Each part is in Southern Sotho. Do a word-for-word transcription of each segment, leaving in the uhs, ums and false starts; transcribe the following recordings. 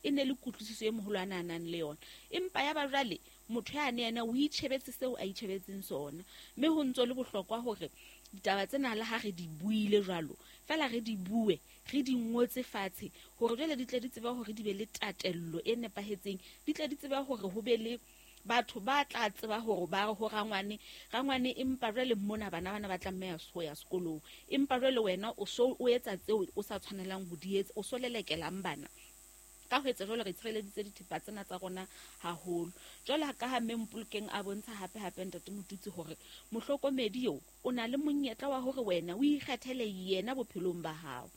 E ne le kutlwisiso e moholo a na nang le yona. Empa ya ba jwale motho ya ne yena o itjhebetse seo a itjhebetseng sona. Mme ho ntso le bohlokwa hore ditaba tsena le ha re di buile jwalo, fela re di bue, re di ngotse fatshe hore jwale di tle di tsebe hore di be le tatello e nepahetseng, di tle di tsebe hore ho be le batho ba tla tseba hore ba re ho rangwane, rangwane empa jwale mona bana bana ba tlameha ho ya sekolong, empa jwale wena o so o etsa tseo o sa tshwanelang ho di etsa, o so lelekelang bana. Ka ho etsa jwalo re tshireleditse dithepa tsena tsa rona haholo. Jwale ka ha mme Mpolokeng a bontsha hape hape ntate Motutsi hore mohlokomedi eo o na le monyetla wa hore wena o ikgethele yena bophelong ba hao.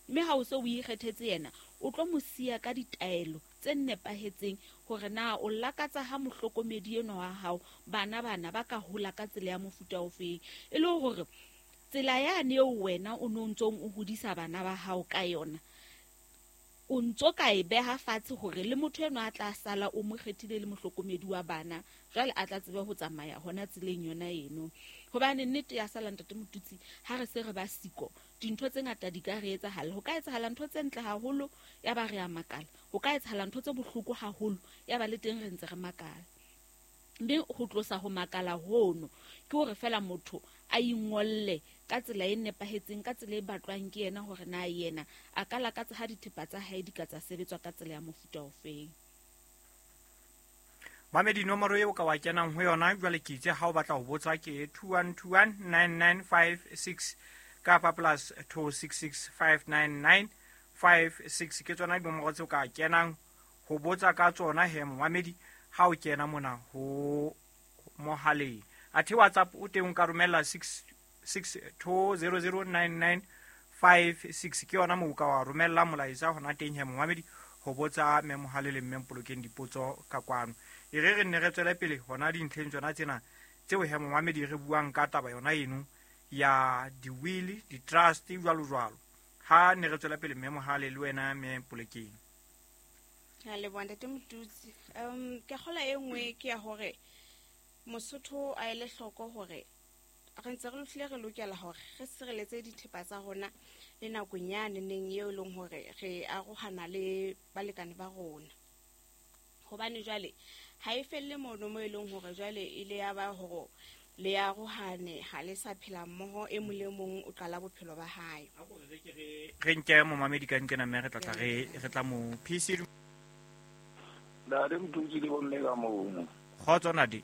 Mme ha o se o ikgethetse yena, o tlo mo siya ka ditaelo tse nepahetseng hore na o lakatsa ha mohlokomedi enwa wa hao bana bana ba ka hola ka tsela ya mofuta ofeng. E le hore tsela yane eo wena o no ntsong o hodisa bana ba hao ka yona, o ntso ka e beha fatshe hore le motho enwa a tla sala o mo kgethile le mohlokomedi wa bana, jwale a tla tsebe ho tsamaya hona tseleng yona eno. Hobane nnete ya sala ntate Motutsi, ha re se re ba siko, dintho tse ngata di ka re etsahala. Ho ka etsahala ntho tse ntle haholo ya ba re a makala, ho ka etsahala ntho tse bohloko haholo ya ba le teng re ntse re makala. Mme ho tlosa ho makala hono ke hore fela motho a ingolle ka tsela e nepahetseng, ka tsela e batlwang ke yena hore na yena a ka lakatsa ha dithepa tsa hae di ka tsa sebetswa ka tsela ya mofuta ofeng. Mamedi, nomoro eo ka wa kenang ho yona jwale ke itse ha o batla ho botsa ke two one two one nine nine five six kapa plus two six six five nine nine five six. Ke tsona dinomoro tseo ka kenang ho botsa ka tsona he momamedi ha o kena mona ho mohaleng. Athe WhatsApp o teng o ka romella six six two zero zero nine nine five six, ke yona moo o ka wa romella molaetsa hona teng he momamedi ho botsa mme Mohale le mme Mpolokeng dipotso ka kwano. E re re nne re tswele pele hona dintlheng tsona tsena tseo he momamedi re buang ka taba yona eno ya di-will, di-trust jwalo jwalo. Ha ne re tswela pele mme Mohale le wena mme Mpolokeng. Ke a leboha ntate Motutsi. Um ke kgola e nngwe ke ya hore Mosotho a ele hloko hore re ntse re hlile re lokela hore re sireletse dithepa tsa rona le nakong yane neng eo e leng hore re arohana le balekane ba rona. Hobane jwale ha e felle mono mo e leng hore jwale e le ya ba hore le arohane, ha le sa phela mmoho, e mong le mong o qala bophelo ba hae. Re nke momamedi ka nkena mme re tla tla re re tla mo P C. Ntate Motutsi le bomme ka mono. Kgotso ntate.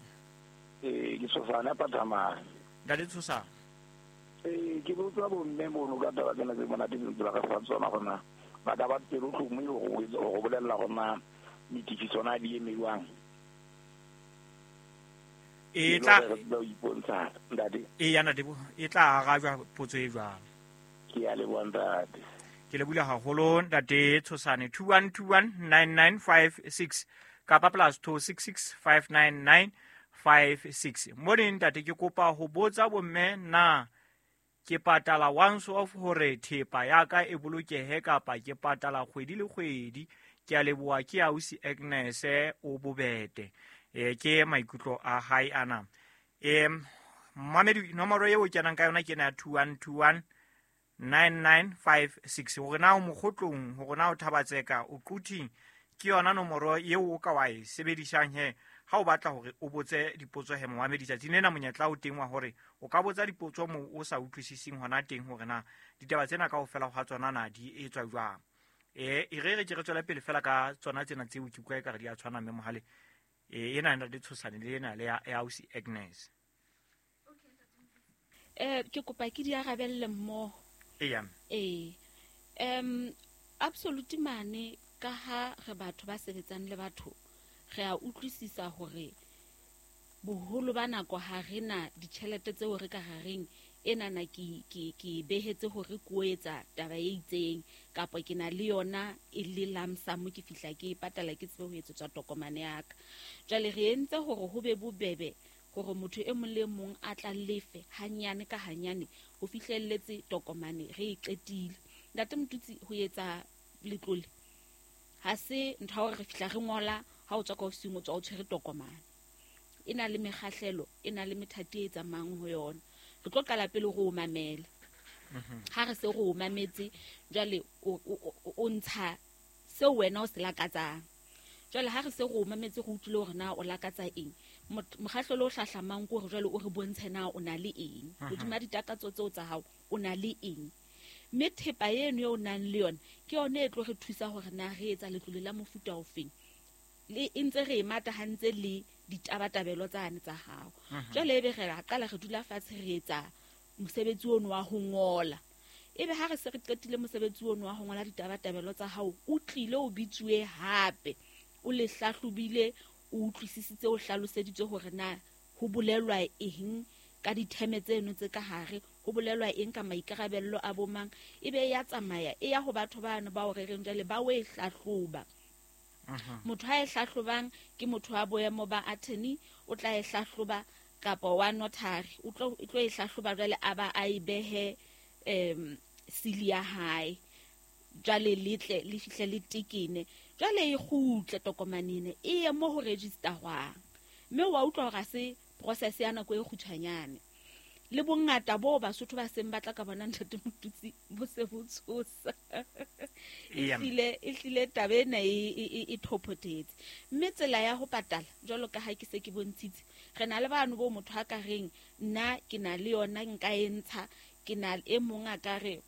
Eh, ke Tshosane Phathamahe. Ntate Tshosane. Eh, ke botsa bomme mono ka taba tsena tse monate tse ba ka fa tsona gona. Ba ka ba pelo tlhomo e go go bolella gona ditifiso na di eme jwang. E tla ipontsha ntate. E ya ntate, e tla arajwa potso e jwang. Ke a leboha ntate. Ke lebohile haholo ntate Tshosane. Two one two one nine nine five six kapa plus two six six five nine nine five six. Morning ntate, ke kopa ho botsa bomme na ke patala once off hore thepa ya ka e bolokehe kapa ke patala kgwedi le kgwedi? Ke a leboha, ke ausi Agnes o Bobete. E ke maikutlo a hae ana. E mamedi, nomoro eo kenang ka yona ke na two one two one nine nine five six. Hore na o mokgotlong, hore na o Thabatseka, o Quthing, ke yona nomoro eo o ka wa e sebedisang he ha o batla hore o botse dipotso he momamedi. Tsatsing lena monyetla o teng wa hore o ka botsa dipotso moo o sa utlwisising hona teng hore na ditaba tsena kaofela ha tsona na di etswa jwang. E e re re ke re tswele pele fela ka tsona tsena tseo ke utlwa ekare di a tshwana mme Mohale. E ena ena le Tshosane le ena le ya ausi Agnes. Eh ke kopa ke di arabelle mmoho. Eya. Eh um absolute mane ka ha re batho ba sebetsang le batho, re a utlwisisa hore boholo ba nako ha re na ditjhelete tseo re ka rareng enana ke ke ke behetse hore ke o etsa taba e itseng, kapa ke na le yona e le lump sum ke fihla ke e patala ke tsebe ho etsetswa tokomane ya ka. Jwale re entse hore ho be bobebe hore motho e mong le mong a tla lefe hanyane ka hanyane ho fihlelletse tokomane re e qetile. Ntate Motutsi, ho etsa letlole ha se ntho ya hore re fihla re ngola ha o tswa ka ofising o tswa o tshwere tokomane. E na le mekgahlelo, e na le methati e tsamayang ho yona. Re tlo qala pele re o mamela. Ha re se re o mametse, jwale o, o, o ntsha Seo wena o se lakatsang. Jwale ha re se re o mametse re utlwile hore na o lakatsa eng, mokgahlelo o hlahlamang ke hore jwale o re bontshe na o na le eng. Hodima ditakatso tseo tsa hao o na le eng. Mme thepa eno eo o nang le yona ke yona e tlo re thusa hore na re etsa letlole la mofuta ofeng. Le e ntse re e matahantse le ditabatabelo tsane tsa hao. Jwale ebe re ra qala re dula fatshe re etsa mosebetsi ono wa ho ngola. Ebe ha re se re qetile mosebetsi ono wa ho ngola ditabatabelo tsa hao, o tlile o bitsuwe hape. O le hlahlobile, o utlwisisitse, o hlaloseditse hore na ho bolelwa eng ka ditheme tseno tse ka hare, ho bolelwa eng ka maikarabello a bomang. Ebe ya tsamaya e ya ho batho bano ba o rereng jwale ba o e hlahloba. Motho ha e hlahlobang ke motho wa boemo ba attorney, o tla e hlahloba, kapa wa notary, o tlo e tlo e hlahloba jwale a ba a e behe em sili ya hae. Jwale letle le fihle le tekene, jwale e kgutle tokomane ena e ye mo ho registerwang. Mme wa utlwa hore ha se process ya nako e kgutshwanyane. Le bongata bo Basotho ba seng batla ka bona ntate Motutsi bo se bo tshosa. Ehlile ehlile taba ena e e e thophotetse. Mme tsela ya ho patala jwalo ka ha ke se ke bontshitse, re na le bano bo motho a ka reng nna ke na le yona nka e ntsha, ke na e mong a ka re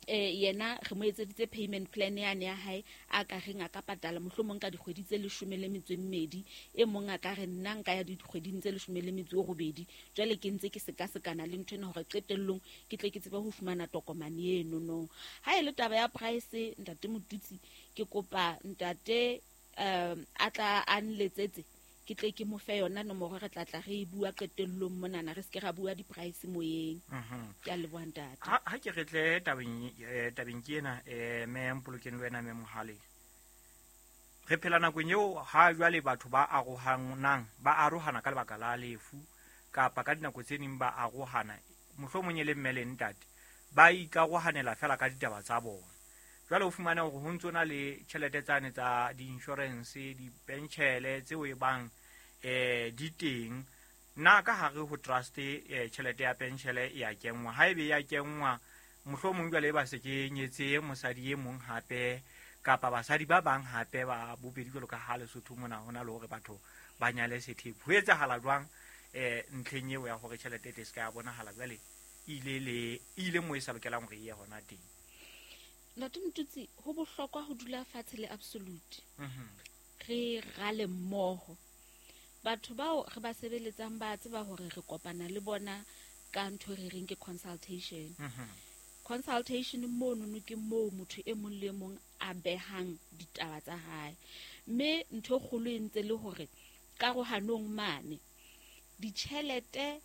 eh yena re mo etseditse payment plan yane ya hae a ka reng a ka patala mohlomong ka dikgwedi tse leshome le metso e mmedi, e mong a ka re nna nka ya dikgweding tse leshome le metso e robedi. Jwale ke ntse ke sekasekana le ntho ena hore qetellong ke tle ke tsebe ho fumana tokomane eno no. Ha e le taba ya price ntate Motutsi, ke kopa ntate um a tla a nletsetse ke tle ke mo fe yona nomoro, re tla tla re e bua qetellong monana, re se ke ra bua di-price moyeng. Ke a leboha ntate. Ha ha ke re tle tabeng tabeng ke ena eh me Mpolokeng le wena me Mohale. Re phela nakong eo ha jwale batho ba arohanang, ba arohana ka lebaka la lefu kapa ka dinako tse ding ba arohana mohlomong e le mme le ntate ba ikarohanela fela ka ditaba tsa bona. Jwale o fumane hore ho ntso na le tjhelete tsane tsa di-insurance, di-penshele tseo e bang eh di teng. Nna ka hare ho trust eh tjhelete ya penshele e ya kenngwa, haebe ya kenngwa mohlomong jwale ba se ke nyetse mosadi e mong hape kapa basadi ba bang hape ba bobedi jwalo ka ha Lesotho mona hona le hore batho ba nyale sethepu. Ho etsahala jwang eh ntlheng eo ya hore tjhelete e tle se ka ya bonahala jwale ile le ile mo e sa lokelang hore e ye hona teng? Ntate Motutsi, ho bohlokwa ho dula fatshe le absolute. Re rale mmoho. Batho bao re ba sebeletsang ba tseba hore re kopana le bona ka ntho re reng ke consultation. Consultation mono no ke moo motho e mong le mong a behang ditaba tsa hae. Mme ntho e kgolo e ntse le hore karohanong mane ditjhelete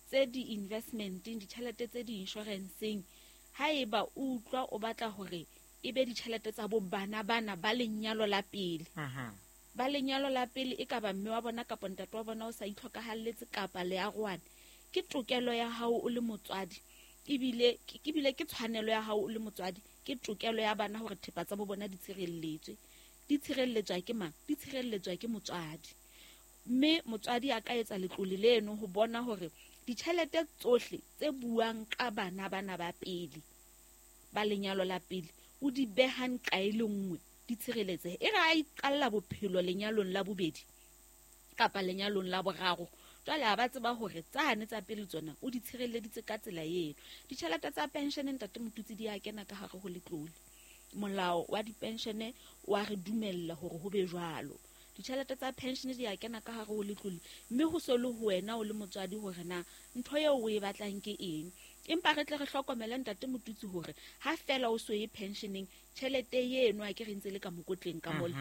tse di-investmenteng, ditjhelete tse di-insuranceng, haeba o utlwa o batla hore e be ditjhelete tsa bo bana bana ba lenyalo la pele. Ba lenyalo la pele e ka ba mme wa bona kapa ntate wa bona o sa itlhokahalletse kapa le arohane, ke tokelo ya hao o le motswadi, ebile ke bile ke tshwanelo ya hao o le motswadi, ke tokelo ya bana hore thepa tsa bo bona di tshireletswe. Di tshireletswa ke mang? Di tshireletswa ke motswadi. Mme motswadi a ka etsa letlole leno ho bona hore ditjhelete tsohle tse buang ka bana bana ba pele ba lenyalo la pele o di behang kae le nngwe di tshireletsehe. E re a iqalla bophelo lenyalong la bobedi kapa lenyalong la boraro, jwale ha ba tseba hore tsane tsa pele tsona o di tshireleditse ka tsela eno. Ditjhelete tsa pension ntate Motutsi di a kena ka hare ho letlole. Molao wa dipenshene wa re dumella hore ho be jwalo. Ditjhelete tsa pension di a kena ka hare ho letlole, mme ho so le ho wena o le motswadi hore na ntho eo o e batlang ke eng. Empa re tle re hlokomele ntate Motutsi hore ha fela o so ye pensioneng, tjhelete eno a ke re ntse le ka mokotleng ka mole,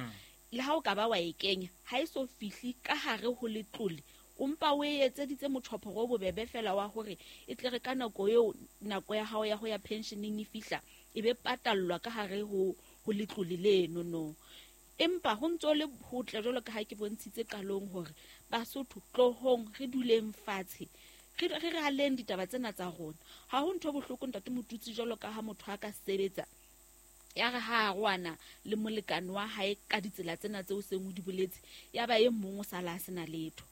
le ha o ka ba wa e kenya ha e so fihle ka hare ho letlole, o mpa o e etseditse motjhophoro o bobebe fela wa hore e tle re ka nako eo nako ya hao ya ho ya pensioneng e fihla e be patallwa ka hare ho ho letlole leno no. Empa ho ntso le hotle jwalo ka ha ke bontshitse qalong hore Basotho tlohong re duleng fatshe re re raleng ditaba tsena tsa rona. Ha ho ntho bohloko ntate Motutsi jwalo ka ha motho a ka sebetsa ya re ha a rwana le molekane wa hae ka ditsela tsena tseo seng o di boletse, ya ba e mong o sala a sena letho.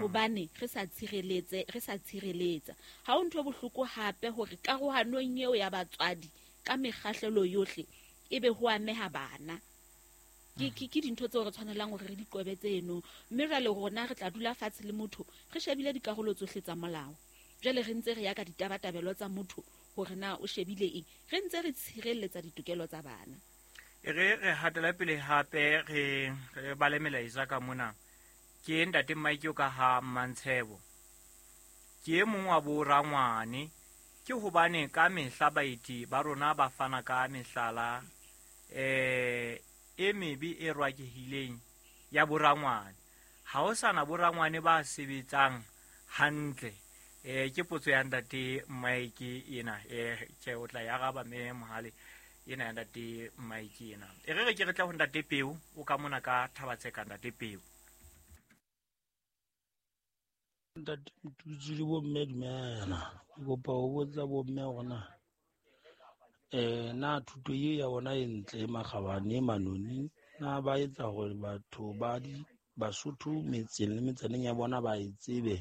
Hobane re sa tshireletse, re sa tshireletsa. Ha ho ntho bohloko hape hore karohanong eo ya batswadi ka mekgahlelo yohle ebe ho ameha bana. Ke ke ke dintho tseo re tshwanelang hore re di qobe tseno. Mme jwale rona re tla dula fatshe le motho re shebile dikarolo tsohle tsa molao. Jwale re ntse re ya ka ditabatabelo tsa motho hore na o shebile eng, re ntse re tshireletsa ditokelo tsa bana. E re re hatela pele hape re re bale melaetsa ka mona. Ke ntate Mike o ka ha Mantshebo. Ke e mong wa bo rangwane, ke hobane ka mehla baeti ba rona ba fana ka mehlala eh e mebe e rwakehileng ya borangwane. Ha ho sana borangwane ba sebetsang hantle. Eh ke potso ya ntate Mike ena, eh ke o tla ya araba mme Mohale ena ya ntate Mike ena. E re re ke re tla ho ntate Peo o ka mona ka Thabatseka ntate Peo. Ntate Motutsi le bomme dumela. Ke kopa ho botsa bomme hore na eh na thuto e ya bona e ntle e makgabane e manoni na ba etsa hore batho ba di Basotho metseng le metsaneng ya bona ba e tsebe.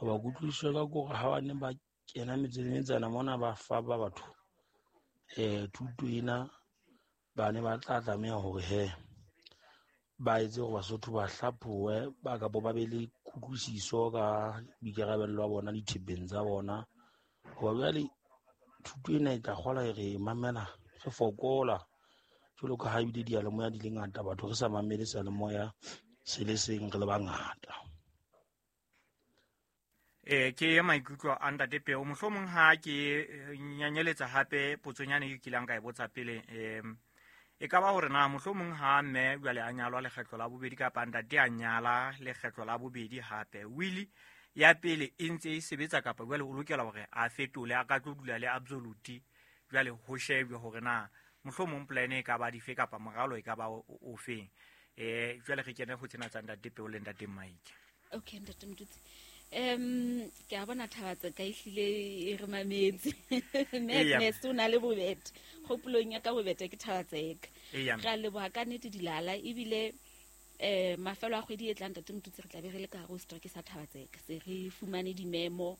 Ba kutlwisiswe ka kore ha ba ne ba kena metseng le metsana mona ba fa ba batho eh thuto ena, ba ne ba tla tlameha hore he ba etse hore Basotho ba hlaphohe ba kapo ba be le kutlwisiso ka boikarabello ba bona dithepeng tsa bona. Hoba jwale thuto ena e tla kgola e re mamela re fokola jwalo ka ha ebile diyalemoya di le ngata, batho re sa mamele seyalemoya se le seng re le bangata. Eh ke maikutlo a ntate Peo. Mohlomong ha ke nyanyeletsa hape potsonyane e kilang ka e botsa pele, eh e ka ba hore na mohlomong ha mme jwale a nyalwa lekgetlo la bobedi kapa ntate a nyala lekgetlo la bobedi hape, wili ya pele e ntse e sebetsa kapa jwale o lokela hore a fetole a ka tlo dula le absolute, jwale ho shebwe hore na mohlomong plan e ka ba dife kapa moralo e ka ba o feng. Eh jwale re kene ho tsena tsa ntate Peo le ntate Mike. Okay ntate Motutsi. Um ke a bona Thabatse ka ehlile e re mametse. Madness o na le bobete. Kgopolong ya ka bobete ke Thabatseka. Re a leboha ka nnete dilala ebile eh mafelo a kgwedi e tlang ntate Motutsi re tla be re le ka hare ho setereke sa Thabatseka. Se re fumane dimemo,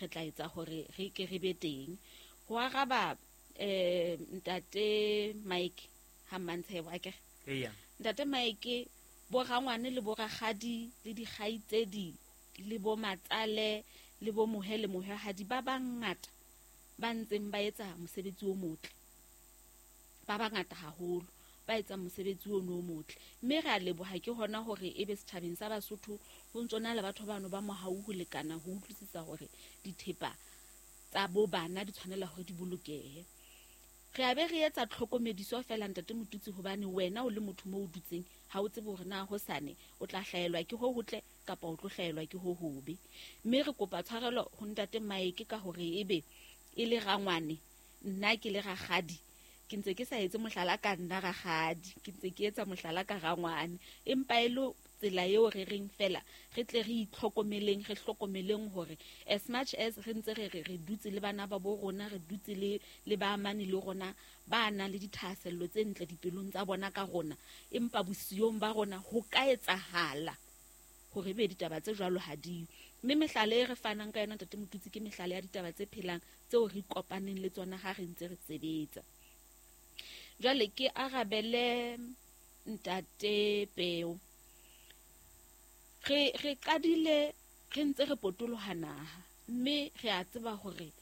re tla etsa hore re ke re be teng. Ho araba eh ntate Mike ha Mantshebo akere. Eya. Ntate Mike bo rangwane le bo rakgadi le dikgaitsedi le bo matsale le bo mohe le mohwehadi ba bangata ba ntseng ba etsa mosebetsi o motle. Ba bangata haholo ba etsa mosebetsi ono o motle. Mme re a leboha ke hona hore ebe setjhabeng sa Basotho ho ntso na le batho bano ba mohau ho lekana ho utlwisisa hore dithepa tsa bo bana di tshwanela hore di bolokehe. Re a be re etsa tlhokomediso fela ntate Motutsi hobane wena o le motho mo o dutseng ha o tsebe hore na hosane o tla hlaelwa ke ho hotle kapa o tlo hlaelwa ke ho hobe. Mme re kopa tshwarelo ho ntate Mike ka hore ebe e le rangwane nna ke le rakgadi, ke ntse ke sa etse mohlala ka nna rakgadi, ke ntse ke etsa mohlala ka rangwane, empa e le tsela eo re reng fela re tle re itlhokomeleng, re hlokomeleng hore as much as re ntse re re re dutse le bana ba bo rona, re dutse le le ba amane le rona ba nang le dithahasello tse ntle dipelong tsa bona ka rona, empa bosiyong ba rona ho ka etsahala hore be ditaba tse jwalo ha di. Mme mehlala e re fanang ka yona ntate Motutsi ke mehlala ya ditaba tse phelang tseo re kopaneng le tsona ha re ntse re sebetsa. Jwale ke arabele ntate Peo. Re re qadile re ntse re potoloha naha, mme re a tseba hore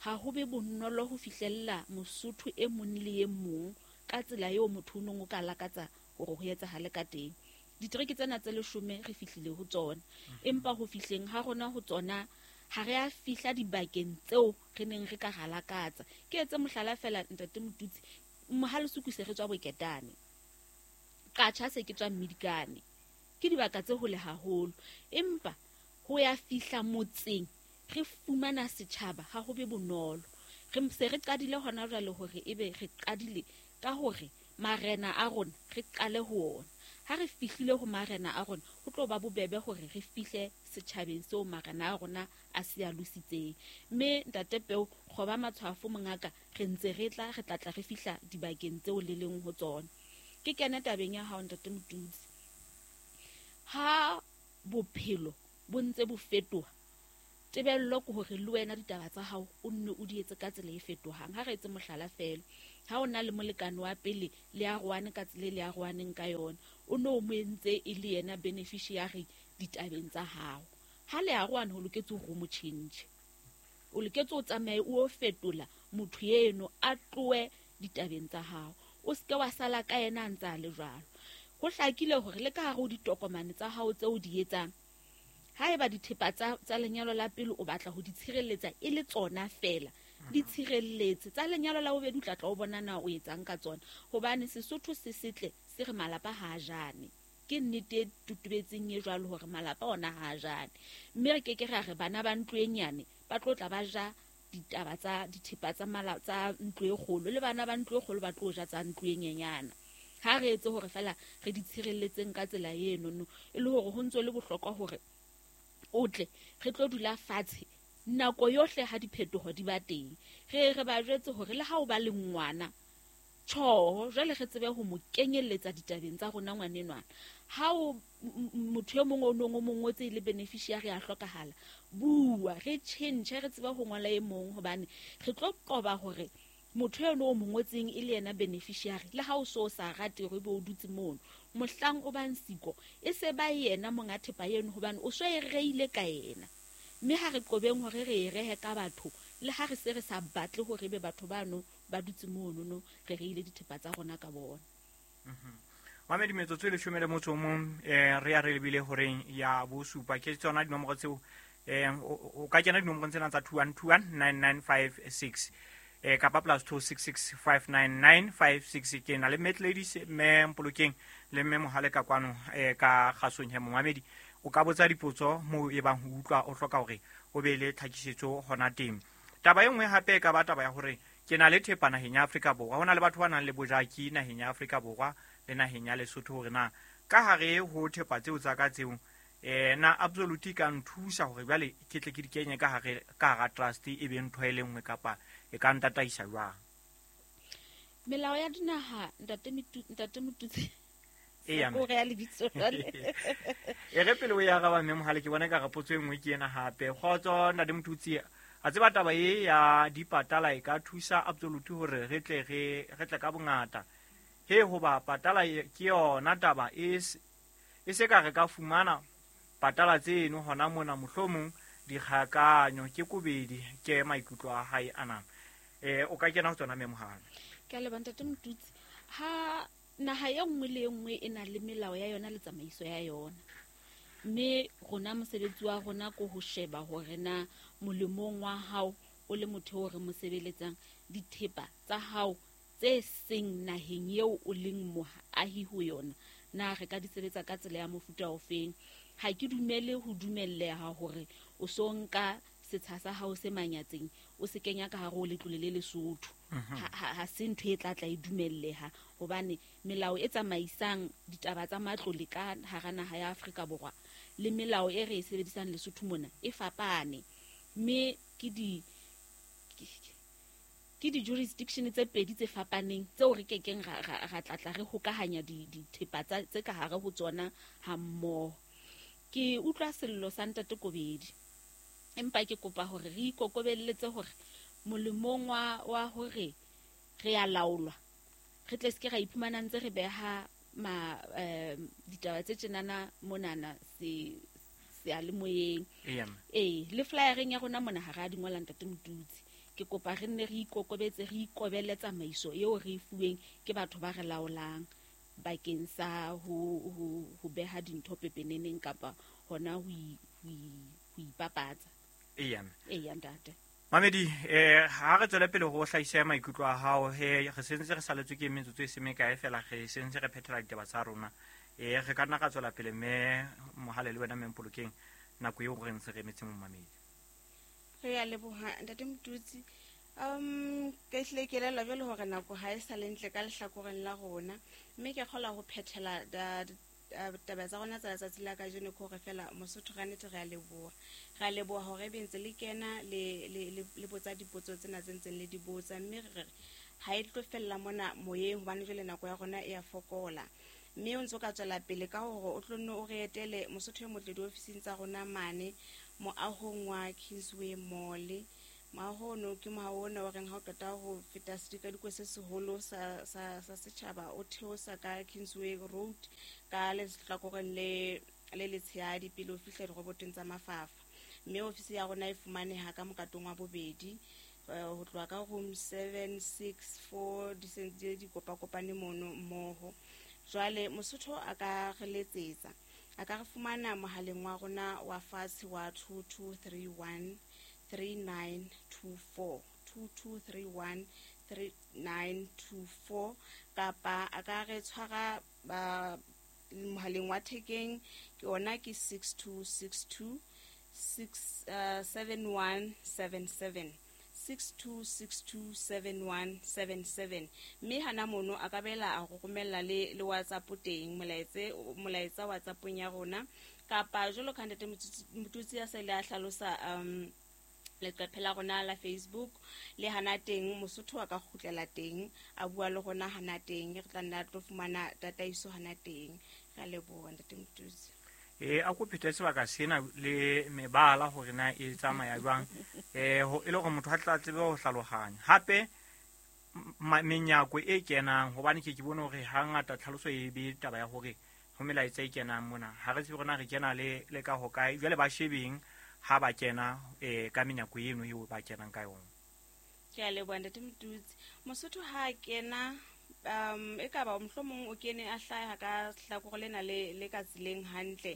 ha ho be bonolo ho fihlella Mosotho e mong le e mong ka tsela eo motho o nong o ka lakatsa hore ho etsahale ka teng. Ditereke tsena tse leshome re fihlile ho tsona, empa ho fihleng ha rona ho tsona ha re a fihla dibakeng tseo re neng re ka ra lakatsa. Ke etse mohlala fela ntate Motutsi, Mohalesuku se re tswa Boketane, Qatjha se ke tswa Mmidikane, ke dibaka tse hole haholo, empa ho ya fihla motseng re fumana setjhaba ha ho be bonolo. Re se re qadile hona jwale hore ebe re qadile ka hore marena a rona re qale ho ona. Ha re fihlile ho marena a rona ho tlo ba bobebe hore re fihle setjhabeng seo marena a rona a se a lositseng. Mme ntate Peo kgoba matshwafo mongaka, re ntse re tla re tla tla re fihla dibakeng tseo le leng ho tsona. Ke kene tabeng ya hao ntate Motutsi. Ha bophelo bo ntse bo fetoha, tebello ke hore le wena ditaba tsa hao o nne o di etse ka tsela e fetohang. Ha re etse mohlala fela, Ha o na le molekane wa pele le arohane ka tsela e le arohaneng ka yona, o no mo entse e le yena beneficiary ditabeng tsa hao. Ha le arohane ho loketse hore o mo change, o loketse o tsamaye o fetola motho eno a tlohe ditabeng tsa hao, o seke wa sala ka yena a ntse a le jwalo. Ho hlakile hore le ka hare ho ditokomane tsa hao tseo o di etsang, haeba dithepa tsa tsa lenyalo la pele o batla ho di tshireletsa e le tsona fela, di tshireletse. Tsa lenyalo la bobedi o tla tla o bona na o etsang ka tsona, hobane Sesotho se setle se re malapa ha a jane. Ke nnete e tutubetseng e jwalo hore malapa ona ha a jane, mme re keke ra re bana ba ntlo e nyane ba tlo tla ba ja ditaba tsa dithepa tsa mala tsa ntlo e kgolo, le bana ba ntlo e kgolo ba tlo ja tsa ntlo e nyenyana. Ha re etse hore fela re di tshireletseng ka tsela eno no, e le hore ho ntso le bohlokwa hore o tle re tlo dula fatshe nako yohle ha diphetoho di ba teng, re re ba jwetse hore le ha o ba le ngwana tjho, jwale re tsebe ho mo kenyelletsa ditabeng tsa rona ngwanenwana. Ha o motho e mong o nong o mong o tse le beneficiary a hlokahala, bua re change, re tsebe ho ngola e mong, hobane re tlo qoba hore motho eno o mo ngotseng e le yena beneficiary, le ha o so sa rate hore ebe o dutse mono, mohlang o bang siko e se ba yena monga thepa eno, hobane o so e reile ka yena. Mme ha re qobeng hore re e rehe ka batho, le ha re se re sa batle hore ebe batho bano ba dutse mono no, re reile dithepa tsa rona ka bona. Mamedi, metsotso e leshome le motso o mong um re ya re lebile horeng ya bosupa. Ke tsona dinomoro tseo um o ka kena dinomorong tsena tsa two one two one nine nine five six eh kapa plus two six six five nine nine five six. Ke na le Mat Ladies mme Mpolokeng le mme Mohale ka kwano eh ka kgasong he. Momamedi o ka botsa dipotso moo e bang ho utlwa o hloka hore o be le tlhakisetso hona teng. Taba e nngwe hape e ka ba taba ya hore ke na le thepa naheng ya Afrika Borwa. Ho na le batho ba nang le bojaki naheng ya Afrika Borwa le naheng ya Lesotho, hore na ka hare ho thepa tseo tsa ka tseo eh na absolute ka nthusa hore jwale ke tle ke di kenye ka hare ka hara trust e be ntho e le nngwe, kapa e ka ntataisa jwang? Melao ya dinaha, ntate ntate Motutsi, Eya, o re ya lebitso jwale. E re pele o ya araba mme Mohale, ke bona ka re potso e nngwe ke ena hape. Kgotso ntate Motutsi, a tseba taba e ya dipatala e ka thusa absolute hore re tle re re tle ka bongata he, hoba patala ke yona taba e e se ka re ka fumana patala tseno hona mona, mohlomong dikgakanyo ke kobedi. Ke maikutlo a hae ana. Eh o ka kena ho tsona mme Mohale. Ke a leboha ntate Motutsi. Ha naha e nngwe le e nngwe e na le melao ya yona le tsamaiso ya yona, mme rona mosebetsi wa rona ko ho sheba hore na molemong wa hao o le motho o re mo sebeletsang, dithepa tsa hao tse seng naheng eo o leng moahi ho yona, na re ka di sebetsa ka tsela ya mofuta ofeng. Ha ke dumele ho dumelleha hore o so nka setsha sa hao se manyatseng o se kenya ka hare ho letlole le Lesotho. Ha ha se ntho e tla tla e dumelleha, hobane melao e tsamaisang ditaba tsa matlole ka hara naha ya Afrika Borwa le melao e re e sebedisang Lesotho mona e fapane, mme ke di ke di-jurisdiction tse pedi tse fapaneng tseo re kekeng ra ra tlatla re hokahanya dithepa tsa tse ka hare ho tsona hammoho. Ke utlwa sello sa ntate Kobedi, empa ke kopa hore re ikokobelletse hore molemong wa wa hore re a laolwa, re tle se ke ra iphumana ntse re beha ma eh, ditaba tse tjenana monana se seyalemoyeng. Ee, le flyereng ya rona mona ha re a di ngola ntate Motutsi. Ke kopa re nne re ikokobetse, re ikobele tsamaiso eo re e fuweng ke batho ba re laolang bakeng sa ho ho ho beha dintho pepeneneng kapa hona ho ho ipapatsa. Eya. Eya ntate. Mamedi, eh ha re tswele pele ho hlahisa maikutlo a hao, he re sentse re saletswe ke metsotso e se mekae fela, re sentse re phethela ditaba tsa rona. Eh re ka nna ra tswela pele mme Mohale le wena mme Mpolokeng nako eo re ntse re emetse momamedi. Re a leboha ntate Motutsi. Um ke hlile ke elellwa jwale hore nako ha e sa le ntle ka lehlakoreng la rona, mme ke kgola ho phethela taba tsa rona tsa letsatsi la kajeno ke hore fela Mosotho ka nnete re a leboha. Re a leboha hore ebe ntse le kena le le le botsa dipotso tsena tse ntseng le di botsa, mme re re ha e tlo fella mona moyeng hobane jwale nako ya rona e a fokola. Mme o ntso ka tswela pele ka hore o tlo nne o re etele Mosotho e motle diofising tsa rona mane moahong wa Kingsway Mall Moaho ono ke moaho ona wa reng ha o qeta ho feta sedikadikwe se seholo sa sa sa setjhaba, o theosa ka Kingsway Road ka lehlakoreng le le letshehadi pele o fihla dirobotong tsa Mafafa. Mme ofisi ya rona e fumaneha ka mokatong wa bobedi, ho tloha ka room seven six four di sentse di kopakopane mono mmoho. Jwale Mosotho a ka re letsetsa, a ka re fumana mohaleng wa rona wa fatshe wa two two three one three nine two four, two two three one three nine two four, kapa a ka re tshwara ba mohaleng wa thekeng, ke ona ke six two six two six seven one seven seven, six two six two seven one seven seven. Mme hana mono a ka bela a go romella le le WhatsApp teng, molaetse molaetsa WhatsAppong ya rona, kapa jwalo ka ntate Motutsi ya sa ile a hlalosa um leqephe la rona la Facebook, le hana teng Mosotho a ka kgutlela teng a bua le rona hana teng, re tla nna tlo fumana tataiso hana teng. Re a leboha ntate Motutsi. E a ko phete sebaka sena le mebala hore na e tsamaya jwang, eh ho e le hore motho a tla tsebe ho hlalohanya. Hape menyako e kenang, hobane ke ke bone hore hangata tlhaloso e be taba ya hore ho melaetsa e kenang mona, ha re tsebe rona re kena le le ka hokae. Jwale ba shebeng ha ba kena eh ka menyako eno eo ba kenang ka yona. Ke a leboha ntate Motutsi. Mosotho ha kena um e ka ba mohlomong o kene a hlaha ka hlakore lena le le ka tseleng hantle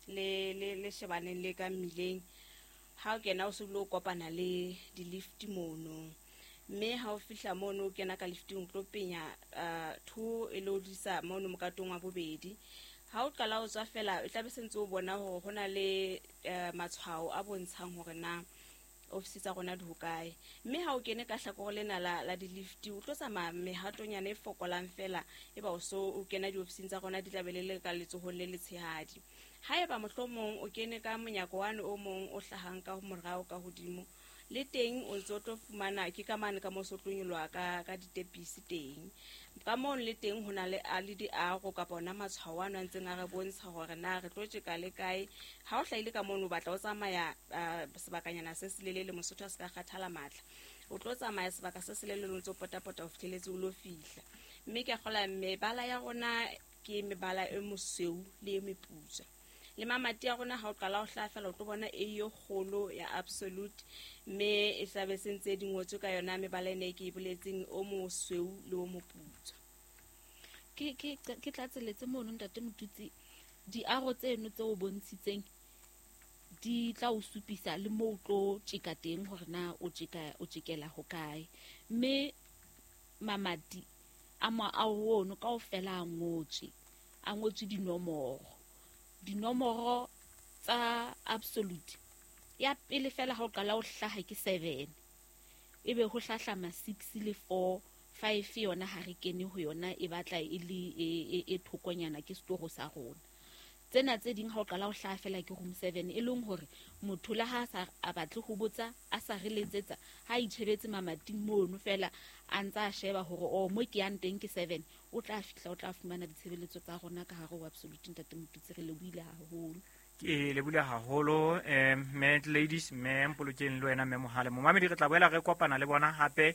le le le shebaneng le ka mmileng. Ha o kena o se o kopana le di-lift mono, mme ha o fihla mono o kena ka lifting o tlo penya two e le o disa mono mokatong wa bobedi. Ha o qala o tswa fela e tla be sentse o bona hore hona le matshwao a bontshang hore na ofisi tsa rona di hokae. Mme ha o kene ka hlakore lena la la di-lift o tlo tsamaya mehatonyana e fokolang fela, e ba o so o kena diofising tsa rona di tla be le le ka letsohong le letshehadi. Haeba mohlomong o kene ka monyako wane o mong o hlahang ka morao ka hodimo, le teng o ntso tlo fumana ke ka mane ka mo so tlo nyoloha ka ka ditepisi teng. Ka moo le teng hona le a le diaro kapa ona matshwao ano a ntseng a re bontsha hore na re tlo tjeka le kae. Ha o hlahile ka mono o batla o tsamaya sebakanyana se selelele, Mosotho a se ka kgathala matla, o tlo tsamaya sebaka se selelele o ntso potapota o fihleletse o lo fihla. Mme ke a kgola mebala ya rona ke mebala e mosweu le e meputswa. Le mamati a rona ha o qala ho hlaha fela o tlo bona e yo kgolo ya Absolute, mme e tlabe se ntse di ngotswe ka yona mebala ena e ke e boletseng, o mosweu le o moputswa. Ke ke ke tlatseletse mono ntate Motutsi, diaro tseno tse o bontshitseng di tla o supisa le moo o tlo tjeka teng hore na o tjeka o tjekela hokae. Mme mamati a moaho ono kaofela a ngotswe, a ngotswe dinomoro. Dinomoro tsa Absolute ya pele fela ha o qala o hlaha ke seven, ebe ho hlahlama six le four, five yona ha re kene ho yona, e batla e le e e thokonyana ke setoro sa rona. Tsena tse ding ha o qala o hlaha fela ke room seven, e leng hore motho le ha sa a batle ho botsa a sa re letsetsa, ha itjhebetse mamating mono fela a ntsa a sheba hore o mo ke yang teng ke seven, o tla fihla o tla fumana ditshebeletso tsa rona ka hare ho Absolute. Ntate Motutsi, re lebohile haholo. Ke lebohile haholo eh mme ladies, mme Mpolokeng le wena mme Mohale. Momamedi re tla boela re kopana le bona hape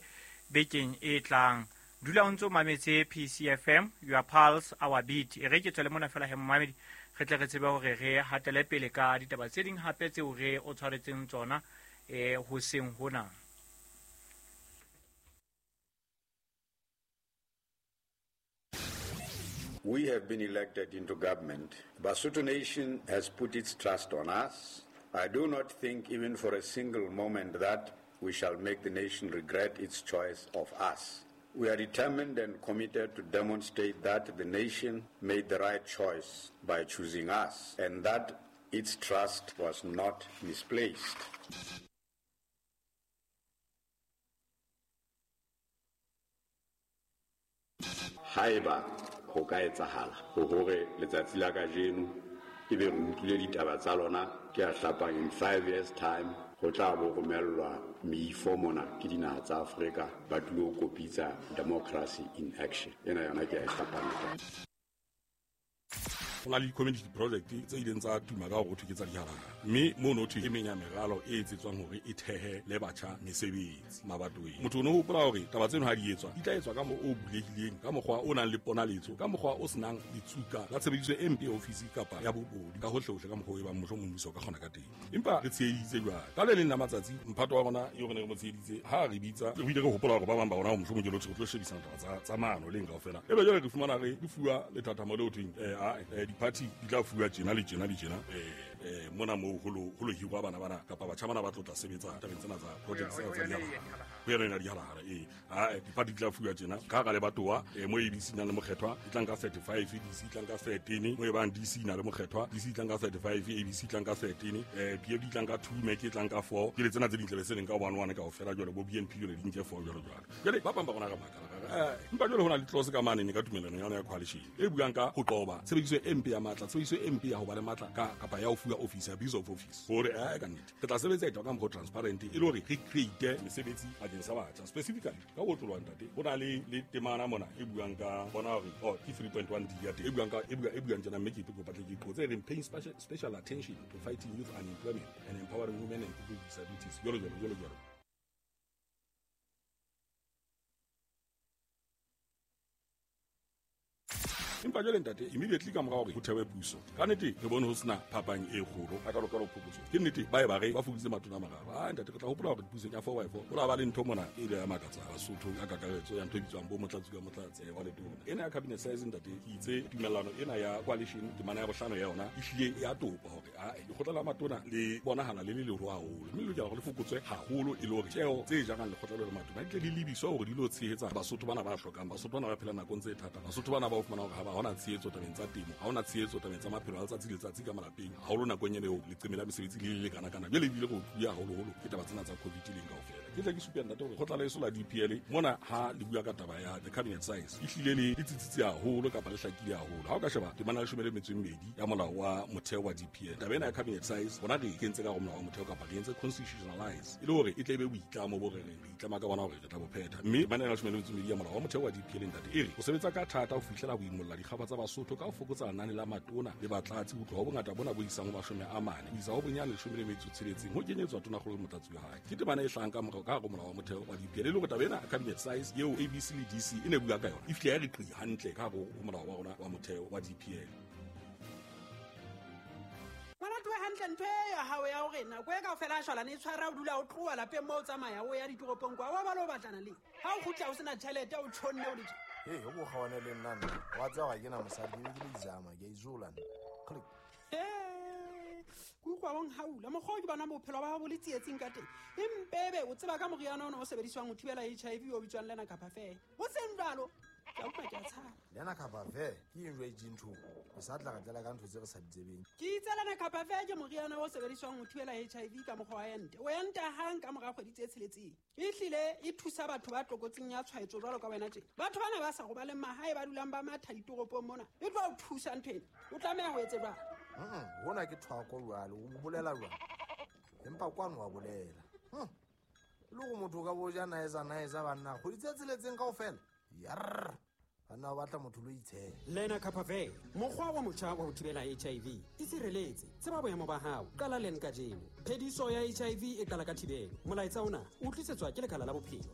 bekeng e tlang. Dula o ntso mametse P C F M, your pulse our beat. E re ke tswele mona fela he momamedi, re tle re tsebe hore re hatele pele ka ditaba tse ding hape tseo re o tshwaretseng tsona eh hoseng hona. We have been elected into government. Basotho Nation has put its trust on us. I do not think even for a single moment that we shall make the nation regret its choice of us. We are determined and committed to demonstrate that the nation made the right choice by choosing us and that its trust was not misplaced. Haeba ho ka etsahala hore letsatsi la kajeno ebe re utlwile ditaba tsa lona ke a hlapang in five years time ho tla bo romellwa meifo mona ke dinaha tsa Afrika ba tlilo kopitsa democracy in action. Ena yona ke a e hlapang. Ho na le community project tse ileng tsa tuma ka hore ho thwe ke tsa dihalahhala, mme mono thwe e meng ya meralo e etsetswang hore e thehe le batjha mesebetsi mabatoweng. Motho o no hopola hore taba tseno ha di etswa di tla etswa ka mo o bulehileng, ka mokgwa o nang le ponaletso, ka mokgwa o senang ditsuka la tshebediso e mpe ya ofisi kapa ya bobodu ka hohlehohle, ka mokgwa o e bang mohlomong mmuso o ka kgona ka teng. Empa re tsheheditse jwale ka le leng la matsatsi mphato wa rona eo re ne re mo tsheheditse ha re bitsa re bile re hopola hore ba bang ba rona mohlomong ke lotho re tlo shebisana taba tsa tsa maano leng kaofela. Ebe jwale re fumana re re fuwa lethathamo leo thweng eh a di-party di tla fuwa tjena le tjena le tjena eh mona moo ho lo ho lo hirwa bana bana kapa batjha bana ba tlo tla sebetsa tabeng tsena tsa project tsena tsa dihalahhala ho yona ena dihalahhala ee a di-party di tla fuwa tjena ka hara lebatowa mo A B C nang le mokgethwa e tlang ka thirty-five, D C e tlang ka thirteen, mo e bang D C na le mokgethwa D C e tlang ka thirty-five, A B C e tlang ka thirteen, eh P F D e tlang ka two, M E C e tlang ka four, ke le tsena tse ding tlabe se leng ka one one kaofela jwale bo B N P jwale di nke four jwalo jwalo. Jwale ba bang ba rona re makala eh empa jwale ho na le clause ka mane ne ka tumelano ya yona ya coalition e buang ka ho qoba tshebediso e mpe ya matla, tshebediso e mpe ya ho ba le matla ka kapa ya ho fuwa office, abuse of office, hore eh ka nnete re tla sebetsa etwa ka mokgwa transparent e le hore re create mesebetsi bakeng sa batjha specifically ka ho otloloha ntate. Ho na le le temana mona e buang ka bona hore oh ke three point one D ya teng e buang ka e buang e buang tjena mme ke kopa tle ke qotse e reng paying special special attention to fighting youth unemployment and empowering women and people with disabilities jwalo jwalo jwalo jwalo. Empa jwale ntate immediately ka mora hore ho thewe puso ka nnete re bone ho sena phapang e kgolo a ka lokela ho phokotso. Ke nnete ba e ba re ba fokoditse matona a mararo. Ah ntate re tla hopola hore pusong ya four by four ho la ba le ntho mona e ile ya makatsa Basotho ka kakaretso ya ntho e bitswang bo motlatsi ka motlatsi wa letona ena ya cabinet size ntate ke itse tumellano ena ya coalition temana ya bohlano ya yona e hlile ya topa hore ah lekgotla la matona le bonahala le le leholo haholo mme le lokela hore le fokotswe haholo e le hore tjeo tse jarang lekgotla le matona di tle di lebiswe hore di lo tshehetsa Basotho bana ba hlokang, Basotho bana ba phelang nakong tse thata, Basotho bana ba o fumana hore ha hona tshehetso tabeng tsa temo, ha hona tshehetso tabeng tsa maphelo a letsatsi le letsatsi ka malapeng haholo nakong ena eo leqeme la mesebetsi le le lekana-kana jwale ebile go tluya haholoholo ke taba tsena tsa COVID leng kaofela. Ke tla ke supe ntate hore kgotla leso la D P L mona ha le bua ka taba ya the cabinet size e hlile le le tsitsitse haholo kapa le hlakile haholo. Ha o ka sheba temana ya leshome le metso e mmedi ya molao wa motheo wa D P L, taba ena ya cabinet size rona re kentse ka hare ho molao wa motheo kapa re entse constitutionalize e le hore e tle e be boitlamo bo re reng re itlama ka bona hore re tla bo phetha. Mme temana ya leshome le metso e mmedi ya molao wa motheo wa D P L ntate e re o sebetsa ka thata ho fihlela ho imolla dikgaba tsa Basotho ka ho fokotsa lenane la matona le batlatsi ho tloha ho bongata bona bo isang ho mashome a mane ho isa ho bonyane leshome le metso tsheletseng ho kenyetswa tonakgolo le motlatsi wa hae. Ke temana e hlahang ka morao ka hare ho molao wa motheo wa D P L e le hore taba ena cabinet size eo A B C le D C e ne bua ka yona e fihle ya re qi hantle ka hare ho molao wa rona wa motheo wa D P L. Hantle ntho e ya hao ya hore nako e kaofela a shwalane e tshwara o dula o tloha lapeng moo o tsamaya o ya ditoropong kwa wa ba lo batlana le ha o kgutla o sena tjhelete o tjhonne o le tje. Hey, o kgawane le nna nna wa tseba ga ke na mosadi ke ke le izama ke a izola nna. Click. Ke utlwa bong haula mokgwa o ke bona bophelo ba hao bo le tsietsing ka teng empebe o tseba ka moriana ona o sebediswang ho thibela H I V o bitswang lena kapa fe ho seng jwalo ke a utlwa ke a tshaba lena kapa fe ke eng jwa itseng o sa tla re tlela ka ntho tse re sa di tsebeng. Ke itse lena kapa fe ke moriana o sebediswang ho thibela H I V ka mokgwa wa ente o enta hang ka mora kgwedi tse tsheletseng e hlile e thusa batho ba tlokotsing ya tshwaetso jwalo ka wena tje. Batho bana ba sa robaleng mahae ba dulang ba matha ditoropong mona e tlo o thusa ntho ena o tlameha ho etse jwang. Hona ke thwako jwale o bolela jwang empa kwano wa bolela le go motho ka bo ja naeza naeza banna kgwedi tse tsheletseng kaofela yarr banna ba batla motho lo itshela. Lena kapa fe mokgwa wa motjha wa ho thibela H I V e sireletse tseba boemo ba hao qala leng kajeno. Phediso ya H I V e qala ka thibelo. Molaetsa ona o tlisetswa ke lekala la bophelo.